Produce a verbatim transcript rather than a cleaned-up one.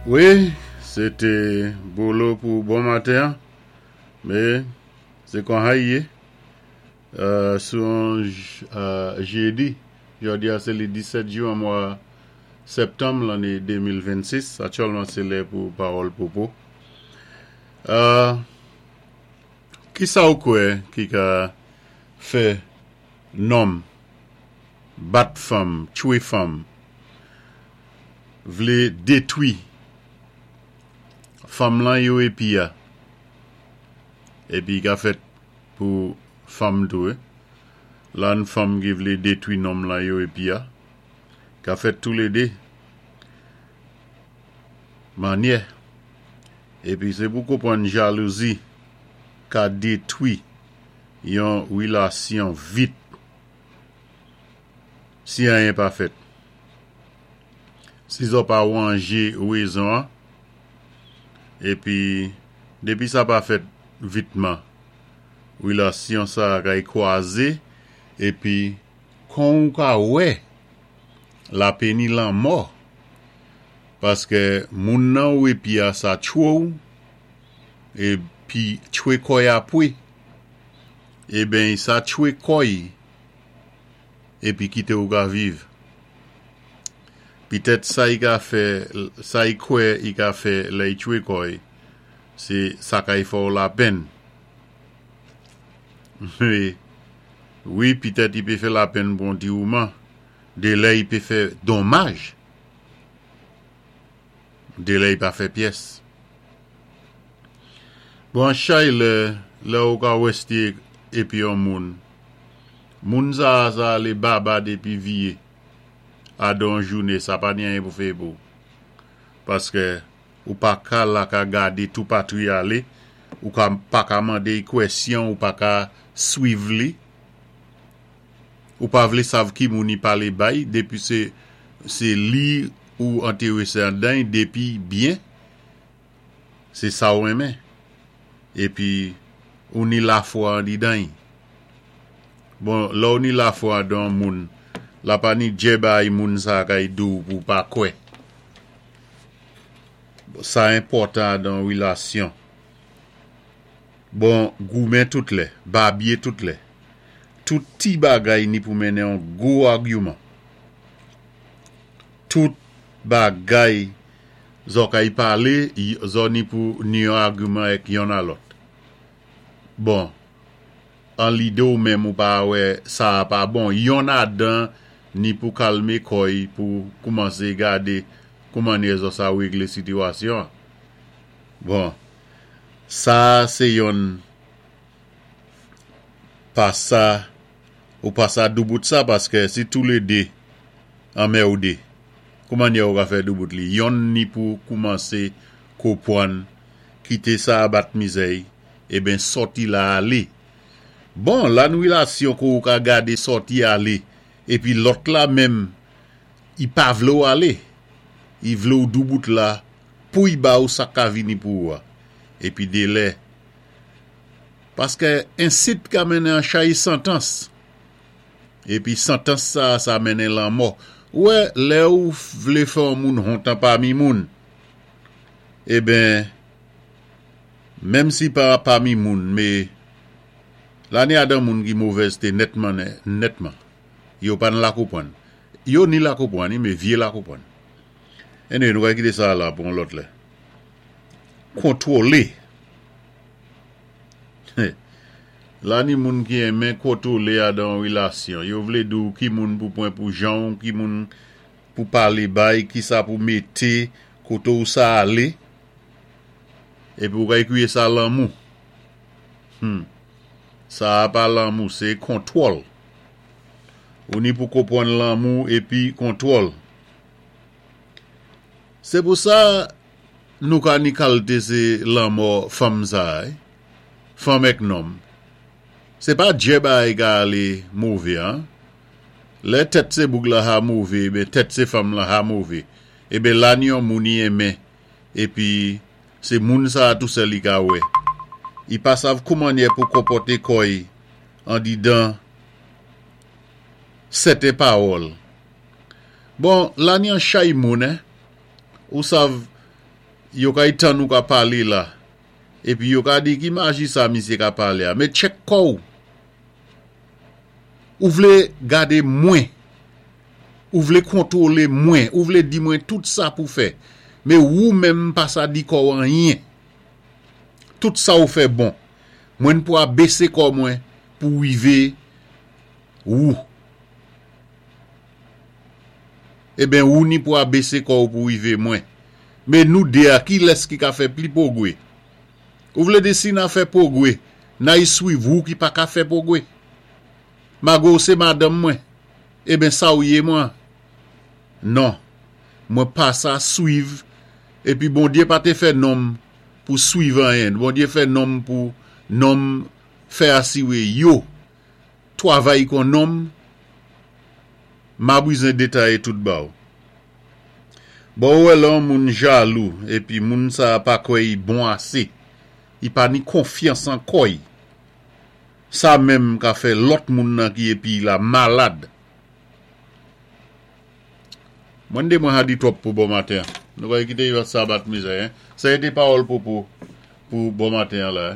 Wi, sé té Bolo pou bon maten, mé sé kon sa i yé. Euh, sou an euh, jédi, jòdi a sé li disèt jwen mwa septanm lanné de mil vennsis, aktyèlman sé lè pou Pawòl Popo. Euh, ki sa ou kwè ki ka fè nonm bat fanm, tchwé fanm, vlé détwi fanm lan yo épi a, épi ka fèt pou fanm tou, eh? Lan fanm ki vlé détwi nonm lan yo épi a, ka fèt toulédé. Mannyè. Épi sé pou konpwann jalouzi ka détwi yon wilasyon vit si anyen pa fèt. Si zò pa wanjé wézon, épi dépi sa pa fèt vitman, wilasyon sa kay kwazé, épi kon ou ka wè la péni lanmò, paské moun nan ou épi a sa tchwé ou, épi tchwé kò'y apwé, eben sa tchwé kò'y, épi kité ou ka viv. Pitèt sa i ka fè, sa i kwè i ka fè lè i tchwé kò'y, sé sa kay fè ou lapenn. Wi, wi, pitèt i pé fè lapenn pou an ti mouman, dé lè i pé fè donmaj, dé lè i pa fè pyès. Bon, an chay lè, lè ou ka wèsté épi an moun, moun sa sa alé baba dépi viyé, adan jouné, sa pa ni anyen pou fè pou. Paské ou pa ka la ka gadé tou patri alé, ou ka pa ka mandé kwèsyon, ou pa ka swiv li, ou pa vlé sav ki moun i palé bay, dépi sé sé li ou entéwésé andan, dépi byen, sé sa ou renmen. Épi, ou ni lafwa andidan. Bon, lè ou ni lafwa andan moun, la pa ni djè bay moun sa kay di ou pou pa kwè. Sa enpòtan dan wilasyon. Bon, goumen tout lè, babyé tout lè. Tout ti bagay ni pou mennen an gwo agiman. Tout bagay zò kay palé, zò ni pou ni yon agiman ek yon a lòt. Bon, an lidé ou menm ou pa wè sa pa bon, yon adan ni pou kalmé kò'y pou koumansé gadé kouman ni zò sa réglé sitiyasyon. Bon, sa sé yon pa sa ou pa sa doubout sa paské si toulédé anmèwdé, kouman ni ou ka fè doubout li? Yon ni pou koumansé konpwann, kité sa bat mizè'y, eben sòti la alé. Bon, lan wilasyon kou ou ka gadé sòti alé, épi lòt la menm, i pa vlé ou alé. I vlé ou doubout la, pou i ba ou sa ka vini pou ou a. Épi dé lè. Paské ensit ka mennen an chay santans. Épi santans sa, sa mennen lanmò. Wè, lè ou vlé fè an moun hontan pami moun, eben, menm si pa pami moun, mé, la ni adan moun ki movèzté nètman, nètman. Yo pa nan la konpwann. Yo ni la konpwann, mé vyé la konpwann. Ene, nou ka kité sa la pou an lòt lè. Kontwolé. La ni moun ki enmen kontwolé adan wilasyon. Yo vlé di ou ki moun pou pwan pou jan, ki moun pou palé bay, ki sa pou mété, koté ou sa alé. Épi ou ka ékwié sa lanmou. Hmm. Sa pa lanmou, sé kontwòl. Ou ni pou konpwann lanmou épi kontwòl. Sé pou sa nou ka ni kalité sé lanmò fanm sa, eh? Fanm ek nonm. Sé pa djè bay ka alé mové, an. Lè tèt sé boug la ha mové, ben tèt sé fanm la ha mové. Eben la ni yon moun i enmen, épi sé moun sa tou sèl i ka wè. I pa sav kouman pou konpòté kò'y andidan sèten pawòl. Bon, la ni an chay moun, eh? Ou sav Yo kay tann ou ka palé la. Épi yo ka di ki maji sa misyé ka palé a. Mé tchèk kò-w. Ou vlé gadé mwen. Ou vlé kontwolé mwen. Ou vlé di mwen tout sa pou fè. Mé ou menm pa sa di kò-w anyen. Tout sa ou fè bon. Mwen pou abésé kò mwen pou wivé ou. Eben ou ni pou abésé kò-w pou wivé mwen. Mé nou dé a kilès ki ka fè pli pwogwé? Ou vlé di si na fè pwogwé, na-y swiv ou ki pa ka fè pwogwé? Mago sé madanm mwen. Eben sa ou yé mwen? Non. Mwen pa sa swiv. Épi Bondyé pa té fè nonm pou swiv anyen. Bondyé fè nonm pou nonm fè asiwé yo. Twavay kon nonm, ma bizwen détayé tout ba-w. Bon ou wè lè yon moun jalou, épi moun sa pa kwè i bon asé. I pa ni konfyans an kò-y. Sa menm ka fè lòt moun nan ki épi la malad. Mwen dé mwen ha di twòp pou bon maten. Nou va kité yo sa bat mizè. Sa é té pawòl pou pou pou bon maten la.